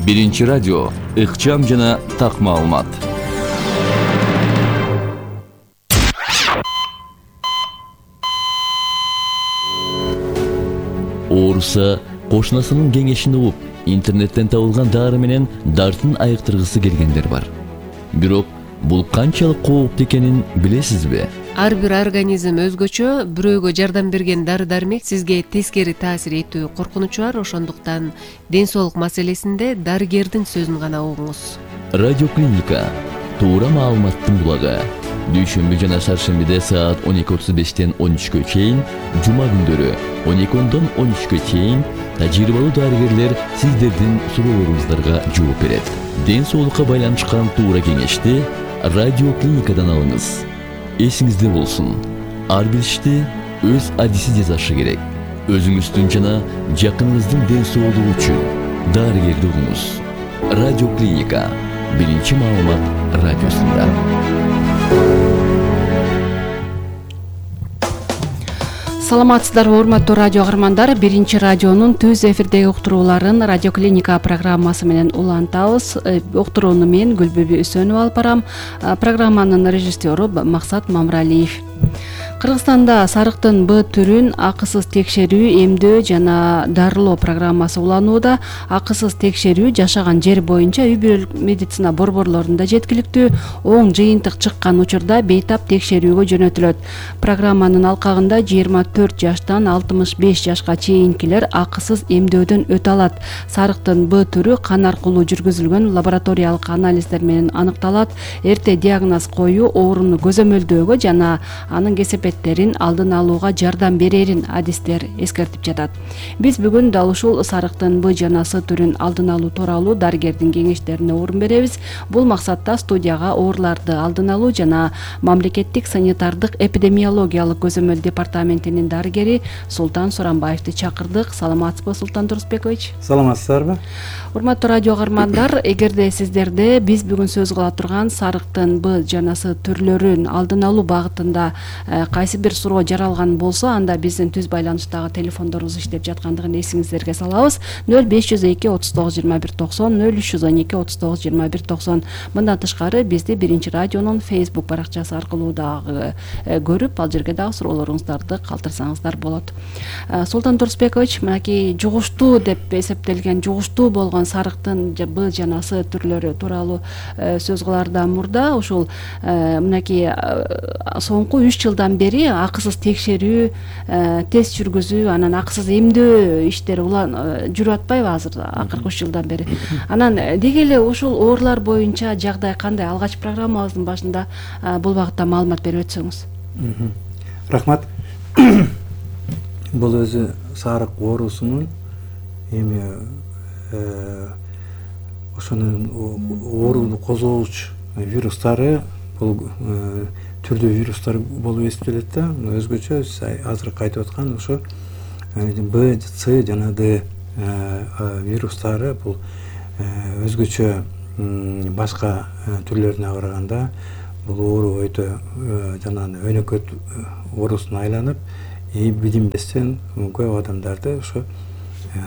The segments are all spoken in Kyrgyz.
Биринчи радио, ыкчам жана так маалымат. Ооруса кошунасынын кеңешин угуп, интернеттен табылган дары менен дартын айыктыргысы келгендер бар. Бирок бул канчалык кооптуу экенин билесизби? Ар бир организм өзгөчө, бирөөгө жардам берген дары-дармек сизге тескери таасир этүү коркунучу бар, ошондуктан ден соолук маселесинде дарыгердин сөзүн гана угуңуз. Радиоклиника, туура маалыматтын булагы. Дүйшөмбү жана шаршембиде саат 12:35-тен 13-кө чейин, жума күндөрү 12-дон 13-кө чейин тажрыйбалуу дарыгерлер сиздердин суроолоруңуздарга жооп берет. Ден соолукка байланышкан туура кеңешти радиоклиникадан алыңыз. Эсиңизде болсун, ар бир ишти өз адиси жасашы керек. Өзүңүздүн жана жакыныңыздын ден соолугу үчүн дарыгерди угуңуз. Радиоклиника, биринчи маалымат радиосунда. Саламатсыздарбы, урматтуу радио каармандар. Биринчи радионун түз эфирдеги уктурууларын радиоклиника программасы менен улантабыз. Уктурууну мен Гүлбүбү Үсөнова алып барам. Программанын режиссеру Максат Мамралиев. Кыргызстанда сарыктын Б түрүн акысыз текшерүү, эмдөө жана дарылоо программасы уланууда. Акысыз текшерүү жашаган жер боюнча үй бүлөлүк медицина борборлорунда жеткиликтүү. Оң жыйынтык чыккан учурда бейтап текшерүүгө жөнөтүлөт. Программанын алкагында 24 жаштан 65 жашка чейинкилер акысыз эмдөөдөн өтө алат. Сарыктын Б түрү кан аркылуу жүргүзүлгөн лабораториялык анализдер менен аныкталат. Эрте диагноз коюу ооруну көзөмөлдөөгө жана анын кесепеттерин алдын алууга жардам берерин адистер эскертип жатат. Биз бүгүн дал ушул сарыктын Б жана С түрүн алдын алуу тууралуу дарыгердин кеңештерине орун беребиз. Бул максатта студияга ооруларды алдын алуу жана мамлекеттик санитардык эпидемиологиялык көзөмөл департаментинин дарыгери Султан Суранбаевди чакырдык. Саламатсызбы, Султан Турсбекович? Саламатсыздарбы? Урматтуу радио каармандар, эгерде сиздерде биз бүгүн сөз кыла турган сарыктын Б жана С түрлөрүн алдын алуу багытында кайсы бир суроо жаралган болсо, анда биздин түз байланыштагы телефондорубуз иштеп жаткандыгын эсиңиздерге салабыз. 0502 39 21 90, 0312 39 21 90. Мындан тышкары бизди Биринчи радионун Facebook баракчасы аркылуу дагы көрүп, ал жерге дагы суроолоруңуздарды калтырсаңыздар болот. Султан Турсбекович, мынакей жугуштуу деп эсептелген, жугуштуу болгон сарыктын Б жана С түрлөрү тууралуу сөз кылаардан мурда ушул мынакей соңку 3 жылдан бери акысыз текшерүү, тест жүргүзүү, анан акысыз эмдөө иштери жүрүп атпайбы азыр акыркы 3 жылдан бери? Анан деги эле ушул оорулар боюнча жагдай кандай? Алгач программабыздын башында бул багытта маалымат берип өтсөңүз. Рахмат. Бул өзү сарык оорусунун эми ошонун ооруну козгоочу вирустары, бул түрдүү вирустар болуп эсептелет да. Өзгөчө азыр айтып аткан ошо Б, С жана Д вирустары бул өзгөчө башка түрлөрүнө караганда бул оору өтө жана өнөкөт оорусуна айланып, билинбестен көп адамдарды ошо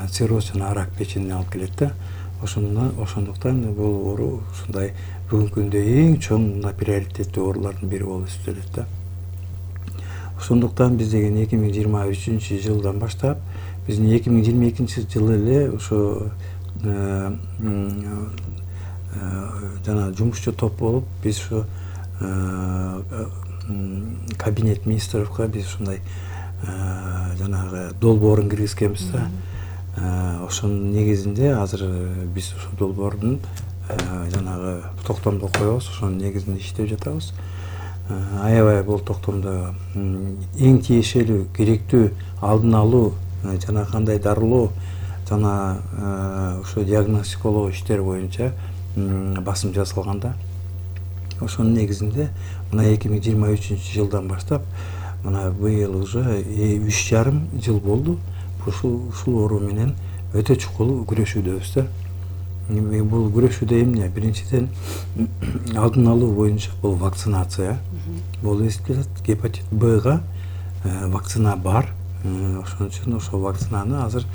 цирроз жана рак печенине алып келет да. Ошондуктан бул оору ушундай бүгүнкү күндө эң чоң приоритеттүү оорулардын бири болуп эсептелет да. Ошондуктан биз деген 2023-жылдан баштап, биздин 2022-жылы эле ошо жана жумушчу топ болуп, биз ошо кабинет министровго биз ушундай жанагы долбоорун киргизгенбиз да. Ошонун негизинде азыр биз ушул долбоордун жанагы токтомдо коебуз, ошонун негизинде иштеп жатабыз. Аябай бул токтомдо эң тиешелүү, керектүү алдын алуу жана кандай дарылоо жана ошо диагностикалоо иштери боюнча басым жасалган да. Ошонун негизинде мына 2023-жылдан баштап мына быйыл уже 3,5 жыл болду ушул оору менен өтө чукул күрөшүүдөбүз да. Бул күрөшүүдө эмне? Биринчиден алдын алуу боюнча бул вакцинация болуп эсептелет. Гепатит Бга вакцина бар. Ошон үчүн ошол вакцинаны азыр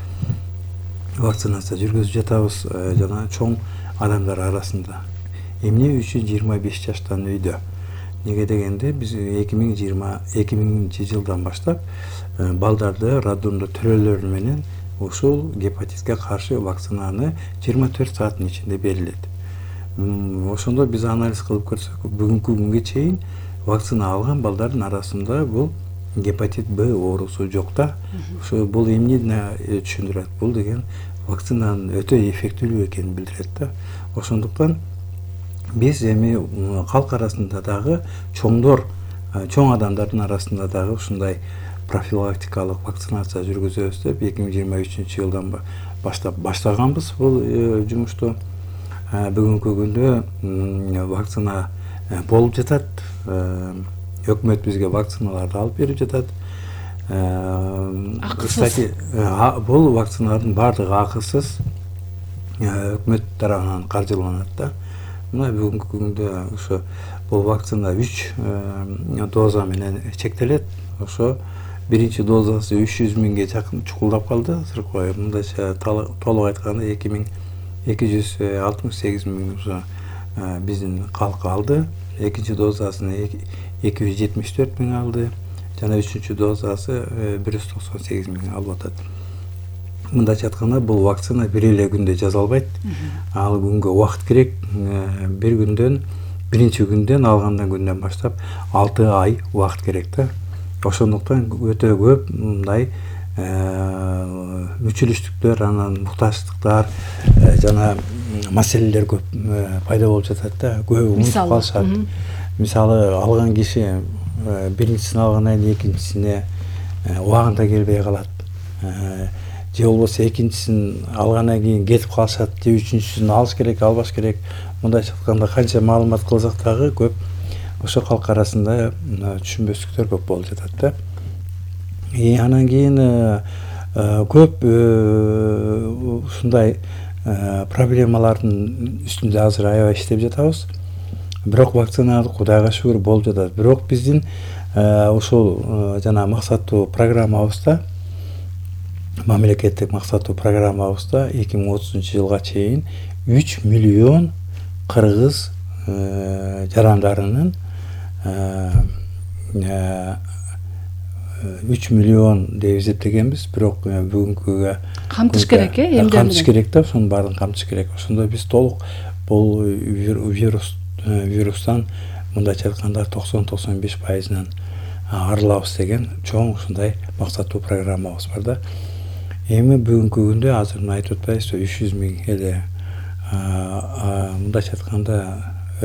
вакцинация жүргүзүп жатабыз жана чоң адамдар арасында. Эмне үчүн 25 жаштан өйдө? Неге дегенде биз 2020 жылдан баштап балдарды роддомдо төрөлөр менен ушул гепатитке каршы вакцинаны 24 сааттын ичинде берилет. Ошондо биз анализ кылып көрсөк, бүгүнкү күнгө чейин вакцина алган балдардын арасында бул гепатит Б оорусу жок да. Ошо бул эмнени түшүндүрөт? Бул деген вакцинанын өтө эффектилүү экенин билдирет да. Ошондуктан биз эми калк арасында дагы чоң адамдардын арасында дагы ушундай профилактикалык вакцинация жүргүзөбүз деп 2023 жылдан баштап баштаганбыз бул жумушту. Бүгүнкү күндө вакцина болуп жатат. Өкмөт бизге вакциналарды алып берип жатат. Кстати, бул вакциналардын баардыгы акысыз, өкмөт тарабынан каржыланат да. Мына бүгүнкү күндө ошо бул вакцина 3 доза менен чектелет. Ошо биринчи дозасы 300 миңге жакын чукулдап калды. Мындайча толук айтканда 2268 миң биздин калк алды. Экинчи дозасын 274 миң алды. Жана үчүнчү дозасы 198 миң алып атат. Мындайча айтканда бул вакцина бир эле күндө жасалбайт. Ал күнгө убакыт керек. Биринчи күндөн алгандан күндөн баштап 6 ай убакыт керек да. Ошондуктан өтө көп мындай мүчүлүштүктөр, анан муктаждыктар жана маселелер көп пайда болуп жатат да. Көбү унутуп калышат. Мисалы алган киши биринчисин алгандан кийин экинчисине убагында келбей калат. Же болбосо экинчисин алгандан кийин кетип калышат, же үчүнчүсүн алыш керек, албаш керек. Мындайча айтканда канча маалымат кылсак дагы көп ошо калк арасында түшүнбөстүктөр көп болуп жатат да. Анан кийин көп ушундай проблемалардын үстүндө азыр аябай иштеп жатабыз. Бирок вакцина Кудайга шүгүр болуп жатат. Бирок биздин ушул жана максаттуу программабызда, мамлекеттик максаттуу программабызда 2030 жылга чейин 3 миллион кыргыз жарандарынын 3 миллион деп эсептегенбиз, бирок бүгүнкүгө камтыш керек, эмне? Камтыш керек да, ошонун баарын камтыш керек. Ошондо биз толук бул вирустан мындайча айтканда 90-95%-дан арылабыз деген чоң ушундай максаттуу программабыз бар да. Эми бүгүнкү күндө азыр айтып атпайбыз, 300 миң эле мындайча айтканда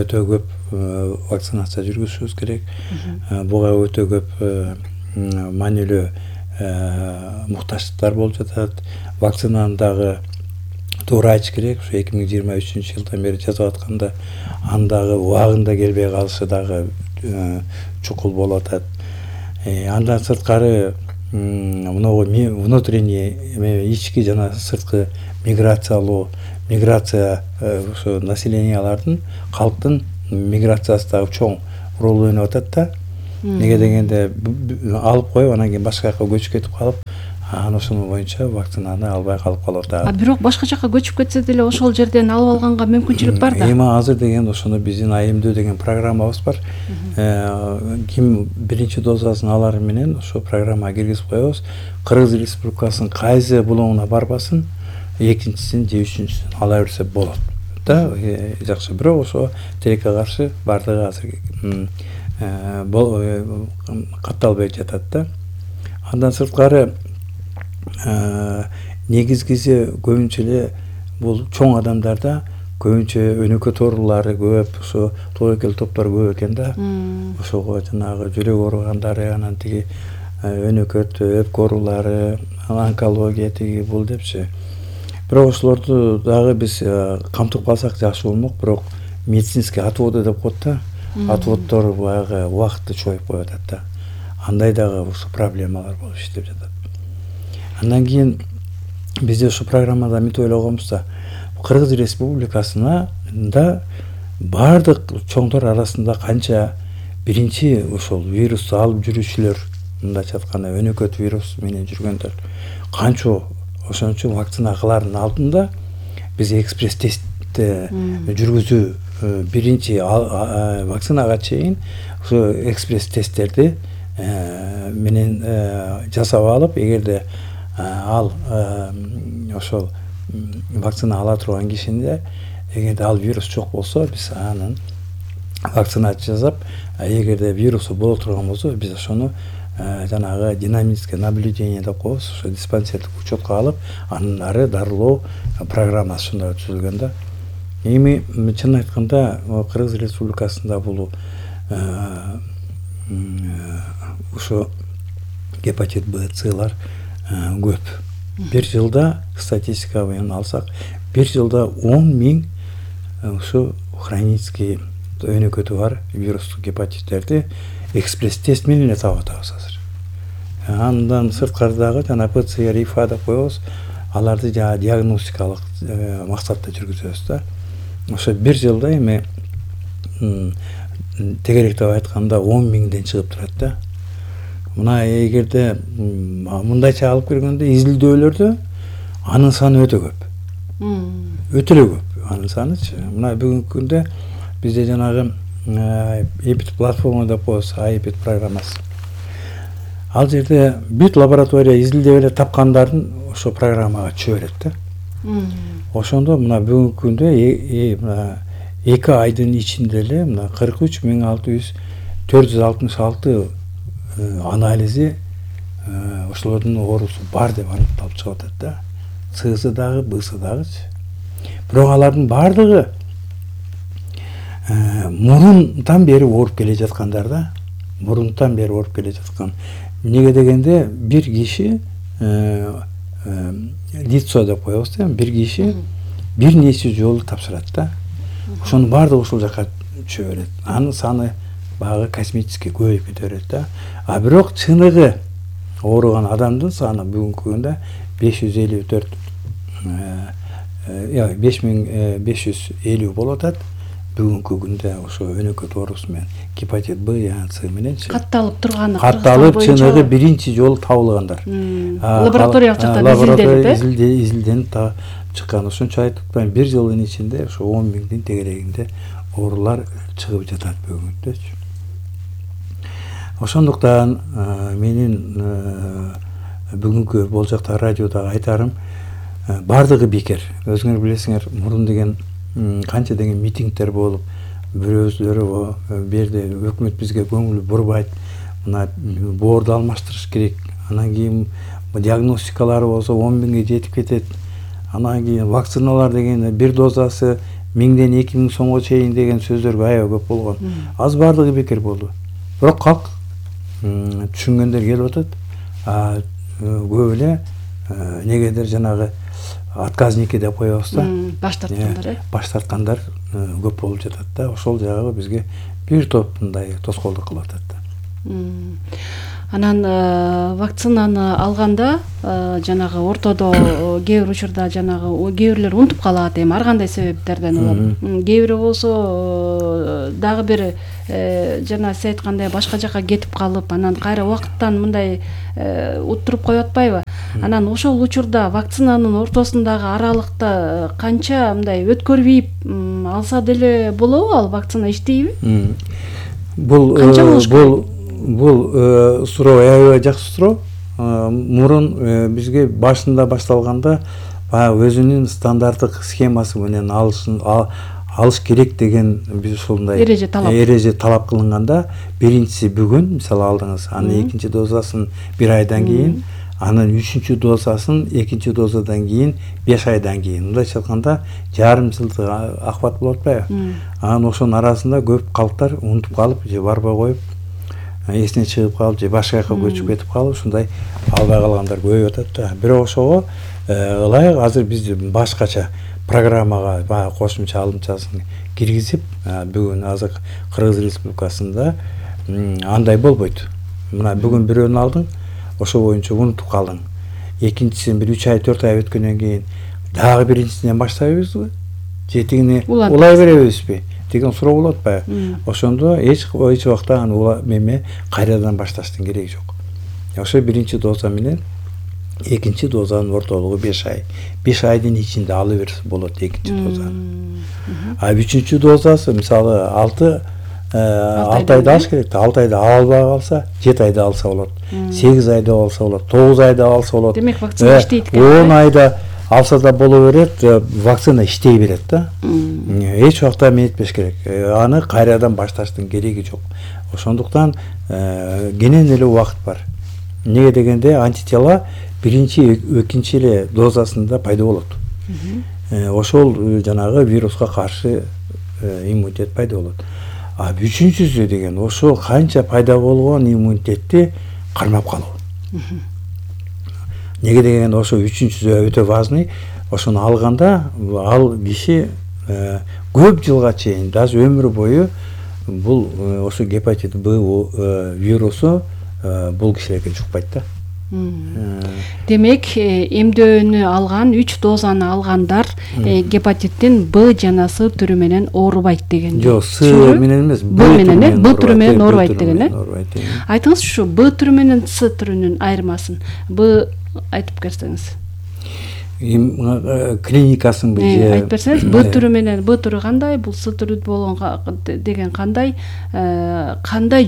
өтө көп вакцинация жүргүзүшүбүз керек. Буга өтө көп маанилүү муктаждыктар болуп жатат. Вакцинаны дагы туура айтыш керек. Ушу 2023 жылдан бери жасап атканда андагы убагында келбей калышы дагы чукул болуп атат. Андан сырткары внутренний ички жана сырткы миграция ошо населениялардын, калктын миграциясы дагы чоң роль ойноп атат да. Неге дегенде алып коюп анан кийин башка жака көчүп кетип калып, анан ошонун боюнча вакцинаны албай калып калып атат. Бирок башка жака көчүп кетсе деле ошол жерден алып алганга мүмкүнчүлүк бар да. Эми азыр деген ошондо биздин АМД деген программабыз бар. Ким биринчи дозасын алары менен ошо программага киргизип коебуз. Кыргыз Республикасынын кайсы булоңуна барбасын, экинчисин же үчүнчүсүн ала берсе болот да. Жакшы, бирок ошо тилекке каршы бардыгы азыр катталбай жатат да. Андан сырткары негизгиси көбүнчө эле бул чоң адамдарда көбүнчө өнөкөт оорулары көп, ошо тобокел топтор көп экен да. Ошого жанагы жүрөк ооругандары, анан тиги өнөкөт өпкө оорулары, онкология тиги бул депчи. Бирок ошолорду дагы биз камтып калсак жакшы болмок, бирок медицинский отводы деп коет да. Отводдор баягы убакытты чоюп коюп атат да. Андай дагы ушу проблемалар болуп иштеп жатат. Андан кийин бизде ушу программада эмне ойлогонбуз да, Кыргыз Республикасында бардык чоңдор арасында канча биринчи ошол вирусту алып жүрүүчүлөр, мындайча айтканда өнөкөт вирус менен жүргөндөр канча ошон үчүн вакцина кылаардын алдында биз экспресс тестти жүргүзүү биринчи вакцинага чейин ошо экспресс тесттерди менен жасап алып, эгерде ал ошол вакцина ала турган кишинде эгерде ал вирус жок болсо, биз анын вакцинация жасап, эгерде вирусу боло турган болсо, биз ошону жанагы динамическое наблюдение деп коебуз, ошо диспансердик учетко алып, андан ары дарылоо программасы ушундай түзүлгөн да. Эми чын айтканда Кыргыз Республикасында бул ошо гепатит Б, Цлар көп. Бир жылда статистика менен алсак, бир жылда 10 000 ошо хронический өнөкөтү бар вирустук гепатиттерди экспресс тест менен таап атабыз азыр. Андан сырткары дагы жана ПЦР, ИФА деп коебуз, аларды жана диагностикалык максатта жүргүзөбүз да. Ошо бир жылда эми тегеректеп айтканда 10 000ден чыгып турат да. Мына эгерде мындайча алып келгенде изилдөөлөрдө анын саны өтө көп. Өтө эле көп анын санычы. Мына бүгүнкү күндө бизде жанагы EPID платформа деп коебуз, EPID программасы. Ал жерде бүт лаборатория изилдеп эле тапкандарын ошо программага чөбөрөт да. Ошондо мына бүгүнкү күндө 2 айдын ичинде эле мына 43 466 анализи ошолордун оорусу бар деп аныкталып чыгып атат да. Цсы дагы, Бсы дагычы. Бирок алардын бардыгы мурунтан бери ооруп келе жаткандар да. Мурунтан бери ооруп келе жаткан. Эмнеге дегенде бир киши лицо деп коебуз да, бир киши бир нече жолу тапшырат да. Ошонун баардыгы ушул жака чөбөрөт. Анын саны багы космический көбөйүп кете берет да. А бирок чыныгы ооруган адамдын саны бүгүнкү күндө 554 5550 болуп атат. Бүгүнкү күндө ошо өнөкөт оорусу менен гепатит Б, С мененчи катталып турганы, катталып чыныгы биринчи жолу табылгандар. Лабораториялык жактан изилденип изилденип чыккан. Ошончо айтып атпайм, бир жылдын ичинде ошо 10 000дин тегерегинде оорулар чыгып жатат бүгүнкү күндөчү. Ошондуктан менин бүгүнкү болжакта радиодагы айтарым, бардыгы бекер. Өзүңөр билесиңер, мурун деген канча деген митингдер болуп, бирөөзлөрү берде өкмөт бизге көңүл бурбайт, мына боорду алмаштырыш керек, анан кийин диагностикалары болсо 10 000ге жетип кетет, анан кийин вакциналар деген бир дозасы 1000ден 2000 сомго чейин деген сөздөргө аябай көп болгон. Az бардыгы бекер болду. Бирок калк түшүнгөндөр келип атат. Көп эле негедир жанагы отказники деп коебуз да. Баш тарткандар, баш тарткандар көп болуп жатат да. Ошол жагы бизге бир топ мындай тоскоолдук кылып атат да. Анан вакцинаны алганда жанагы ортодо кээ бир учурда жанагы кээ бирлер унутуп калат, эми ар кандай себептерден улам. Кээ бири болсо дагы бир жана сиз айткандай башка жака кетип калып, анан кайра убакыттан мындай уттуруп коюп атпайбы? Анан ошол учурда вакцинанын ортосундагы аралыкта канча мындай өткөрбөйүп алса деле болобу, ал вакцина иштейби? Бул канча болуш керек? Бул суроо аябай жакшы суроо. Мурун бизге башында башталганда өзүнүн стандарттык схемасы менен алыш керек деген биз ушундай эреже талап кылынганда, биринчиси бүгүн мисалы алдыңыз, анын экинчи дозасын 1 айдан кийин, анын 3-чү дозасын 2-чи дозадан кийин 5 айдан кийин. Мындайча айтканда жарым жылдык акыбат болуп атпайбы? Анан ошонун арасында көп калктар унутуп калып же барбай коюп, эсине чыгып калып же башка жака көчүп кетип калып, ушундай албай калгандар көбөйүп атат да. Бирок ошого ылайык азыр биз башкача программага баягы кошумча алымчасын киргизип, бүгүн азыр Кыргыз Республикасында андай болбойт. Мына бүгүн бирөөнү алдың, ошо боюнча унутуп калдың. Экинчисин бир 3 ай 4 ай өткөндөн кийин дагы биринчисинен баштайбызбы? Же тигини улай беребизби деген суроо болот атпайбы? Ошондо эч убакта аны кайрадан башташтын кереги жок. Ошо биринчи доза менен экинчи дозанын ортолугу 5 ай. 5 айдын ичинде ала берсе болот экинчи дозаны. А үчүнчү дозасы мисалы 6 айда алыш керек. 6 айда ала албай калса 7 айда алса болот. 8 айда алса болот. 9 айда алса болот. Демек вакцина иштейт экен. 10 айда алса да боло берет, вакцина иштей берет да. Эч убакта эметпеш керек. Аны кайрадан башташтын кереги жок. Ошондуктан кенен эле убакыт бар. Неге дегенде антитела биринчи, экинчи эле дозасында пайда болот. Ошол жанагы вируска каршы иммунитет пайда болот. А үчүнчүсү деген ошол канча пайда болгон иммунитетти кармап калуу. Неге деген ошо үчүнчүсү өтө важный. Ошону алганда ал киши көп жылга чейин, даже өмүр бою бул ошо гепатит Б вирусу бул кишилерге жукпайт да. Демек, эмдөөнү алган, 3 дозаны алгандар гепатиттин Б жана С түрү менен оорубайт деген. Жок, С менен эмес, Б менен, Б түрү менен оорубайт деген, Айтыңыз ушу Б түрү менен С түрүнүн айырмасын. Б айтып берсеңиз. Клиникасын айтып берсеңиз, Б түрү менен Б түрү кандай, бул С түрү болгон деген кандай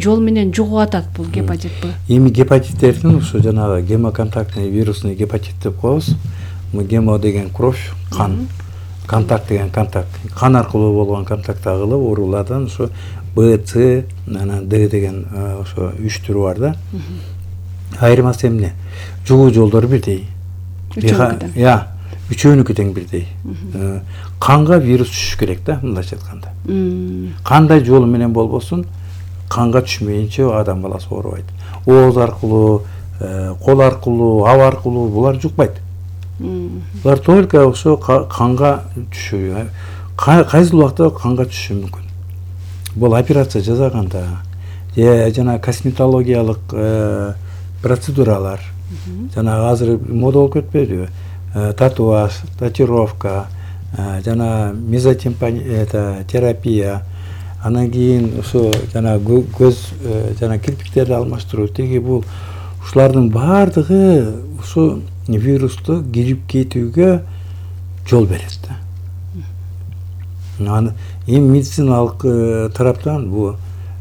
жол менен жугуп атат бул гепатит Б? Эми гепатиттердин ушу жанагы гемоконтактный вирусный гепатит деп коебуз. Гемо деген кровь, кан, контакт деген контакт. Кан аркылуу болгон контакт агылып оорулардан ушу Б, С, анан Д деген ошо 3 түрү бар да. Айырмасы эмне? Жугуу жолдору бирдей. Үчөөнүкү тең бирдей. Канга вирус түшүш керек да, мындайча айтканда. Кандай жолу менен болбосун, канга түшмөйүнчө адам баласы оорубайт. Ооз аркылуу, кол аркылуу, аб аркылуу булар жукпайт. Булар только ошо канга түшүү. Кайсы убакта канга түшүшү мүмкүн. Бул операция жасаганда, жана косметологиялык процедуралар, жана азыр мода болуп кетпедиби? Татуаж, татуировка, жана мезотерапия, анан кийин ошо жана көз жана кирпиктерди алмаштыруу, теги бул ушулардын баардыгы ошо вирусту кирип кетүүгө жол берет да. Эми медициналык тараптан бул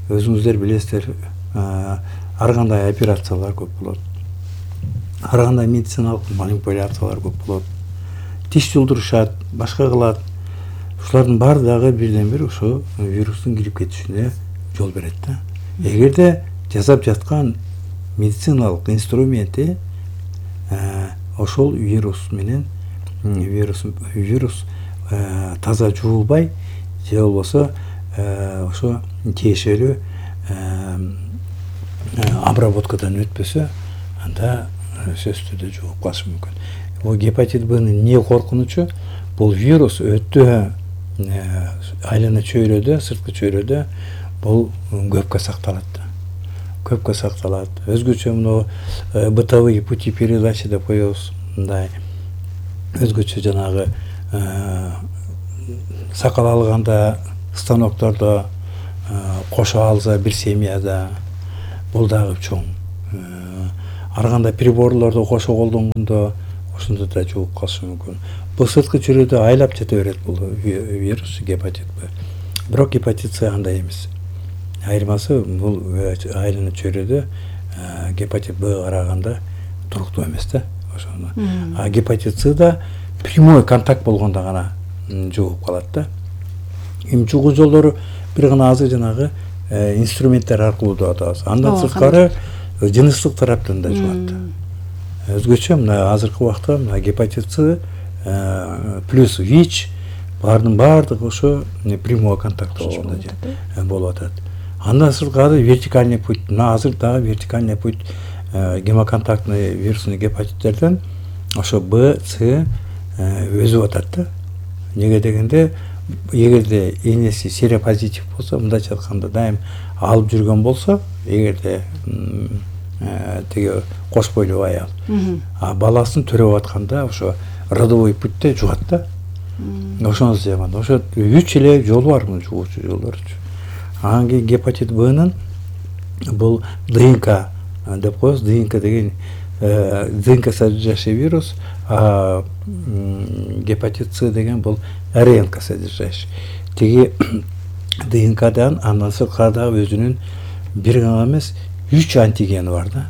өзүңүздөр билесиздер, ар кандай операциялар көп болот. Ар кандай медициналык манипуляциялар көп болот. Тиш жолдурушат, башка кылат. Ушулардын баардыгы бирден бир ошо вирустун кирип кетишине жол берет да. Эгерде жасап жаткан медициналык инструменти ошол вирус менен вирус таза жуулбай, же болбосо ошо тиешелүү обработкадан өтпөсө, анда сөзсүз түрдө жугуп калышы мүмкүн. Бул гепатит Б'нын эмне коркунучу? Бул вирус өтө айлана чөйрөдө, сырткы чөйрөдө бул көпкө сакталат да. Көпкө сакталат. Өзгөчө мына бытовые пути передачи деп коебуз. Мындай өзгөчө жанагы сакал алганда станоктордо кошо алса бир семьяда бул дагы чоң. Ар кандай приборлорду кошо колдонгондо ошондо да жугуп калышы мүмкүн. Бул сырткы чөйрөдө айлап жата берет бул вирус, гепатит Б. Бирок гепатит С андай эмес. Айырмасы бул айлана чөйрөдө гепатит Б караганда туруктуу эмес да. Ошону. А гепатит С да прямой контакт болгондо гана жугуп калат да. Эми жугуу жолдору бир гана азыр жанагы инструменттер аркылуу да атабыз. Андан сырткары жыныстык тараптан да жугат. Өзгөчө мына азыркы убакта мына гепатит С плюс ВИЧ бардын баардыгы ошо прямой контакт болуп атат. Андан сырткары вертикальный путь, мына азыр дагы вертикальный путь гемоконтактный вирусный гепатиттерден ошо Б, С өзүп атат да. Неге дегенде, эгерде энеси серопозитив болсо, мындайча айтканда дайым алып жүргөн болсо, эгерде теге кош бойлуу аял, а баласын төрөп атканда ошо родовой путьте жугат да. Ошону жаман. Ошо 3 эле жолу бар муну жугуучу жолдорчу. Анан гепатит Б'нын бул ДНК деп коебуз. ДНК деген ДНК содержащий вирус, а гепатит С деген бул РНК содержащий. Тиги ДНКдан андан сырткардагы өзүнүн бир гана эмес 3 антигени бар да.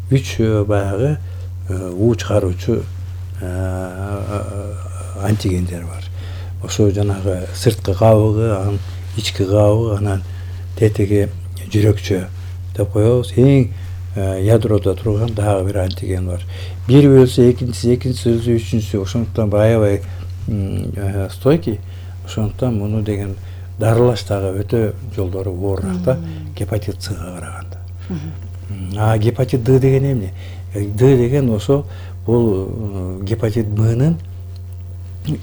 3 баягы уу чыгаруучу антигендер бар. Ошо жанагы сырткы кабыгы, анан ички кабыгы, анан тетиги жүрөкчө деп коебуз. Эң ядрода турган дагы бир антиген бар. Бири өлсө экинчиси, өлсө үчүнчүсү. Ошондуктан аябай стойкий. Ошондуктан муну деген дарылаш дагы өтө жолдору оорураак да гепатит Сга караганда. А гепатит Д деген эмне? Д деген ошо бул гепатит Бнын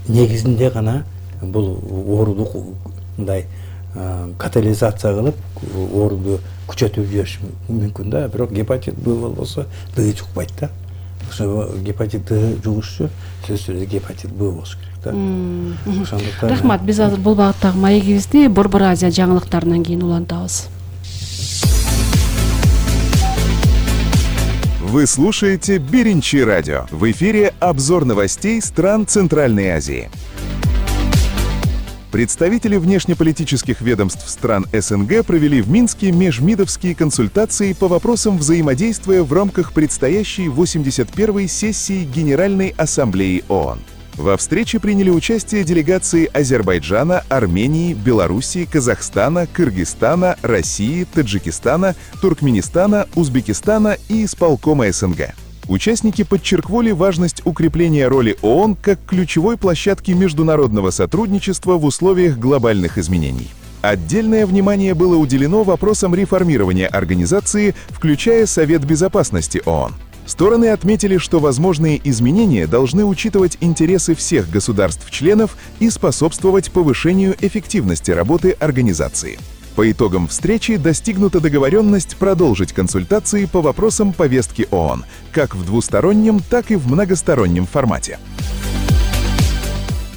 негизинде гана бул ооруду мындай катализация кылып ооруду күчөтүп жибериш мүмкүн да. Бирок гепатит Б болбосо Д жукпайт да. Ошо гепатит Д жугушу сөзсүз гепатит Б болуш керек да. Ошондуктан рахмат. Биз азыр бул багыттагы маегибизди Борбор Азия жаңылыктарынан кийин улантабыз. Вы слушаете Биринчи радио. В эфире обзор новостей стран Центральной Азии. Представители внешнеполитических ведомств стран СНГ провели в Минске межмидовские консультации по вопросам взаимодействия в рамках предстоящей 81-й сессии Генеральной Ассамблеи ООН. Во встрече приняли участие делегации Азербайджана, Армении, Белоруссии, Казахстана, Кыргызстана, России, Таджикистана, Туркменистана, Узбекистана и исполкома СНГ. Участники подчеркнули важность укрепления роли ООН как ключевой площадки международного сотрудничества в условиях глобальных изменений. Отдельное внимание было уделено вопросам реформирования организации, включая Совет Безопасности ООН. Стороны отметили, что возможные изменения должны учитывать интересы всех государств-членов и способствовать повышению эффективности работы организации. По итогам встречи достигнута договоренность продолжить консультации по вопросам повестки ООН, как в двустороннем, так и в многостороннем формате.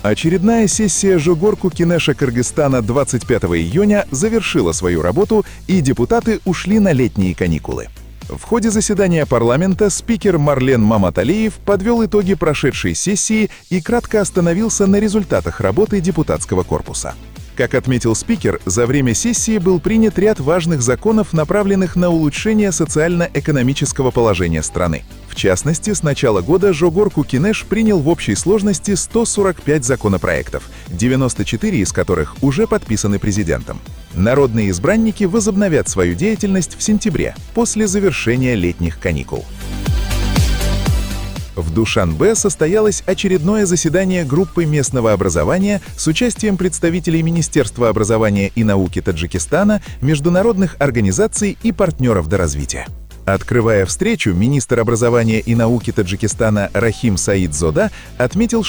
Очередная сессия Жогорку Кинеша Кыргызстана 25 июня завершила свою работу, и депутаты ушли на летние каникулы. В ходе заседания парламента спикер Марлен Маматалиев подвел итоги прошедшей сессии и кратко остановился на результатах работы депутатского корпуса. Как отметил спикер, за время сессии был принят ряд важных законов, направленных на улучшение социально-экономического положения страны. В частности, с начала года Жогорку Кинеш принял в общей сложности 145 законопроектов, 94 из которых уже подписаны президентом. Народные избранники возобновят свою деятельность в сентябре, после завершения летних каникул. В Душанбе состоялось очередное заседание группы местного образования с участием представителей Министерства образования и науки Таджикистана, международных организаций и партнеров до развития. Открывая встречу, министр образования и науки Таджикистана Рахим Саид Зода отметил,